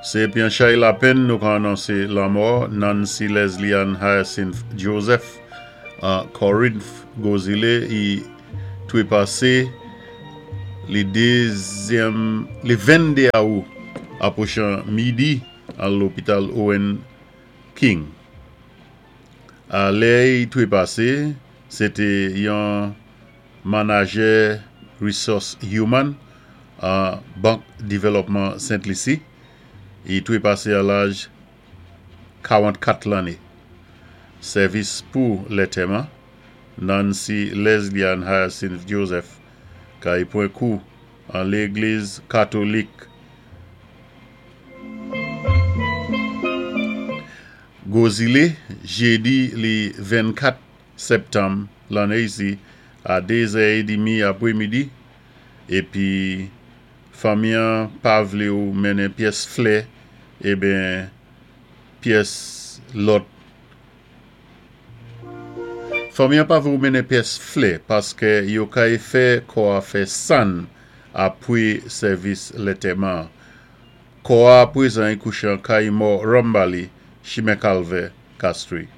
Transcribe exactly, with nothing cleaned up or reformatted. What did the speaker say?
Sé pi an chay lapenn nou ka anonsé lanmò Nancy Leslie Ann Hyacinth Joseph an Corinth, Gwozilé, i twépasé li dézyèm, li venndé awou apwochan midi an lopital Owen King. A lè i twépasé, sété yon manajè Resource Human an Bank Dévelopman Sent Lisi. I twépasé a laj kawanntkat lanné. Sèvis pou lantèman, Nancy Leslie Ann Hyacinth Joseph kay pwan kou an légliz katolik Gwozilé, jédi li vennkat sèptanm lanné isi a dézè édmi apwémidi, épi fanmi-an pa vlé ou mennen pyès flè ében pyès lòt. Fanmi-an pa vlé ou mennen pyès flè paské yo kay fè kò-a fè sann apwé sèvis lantèman. Kò-a apwézan i kouché an kay mò Rambali, Chimen Kalvè, Castries.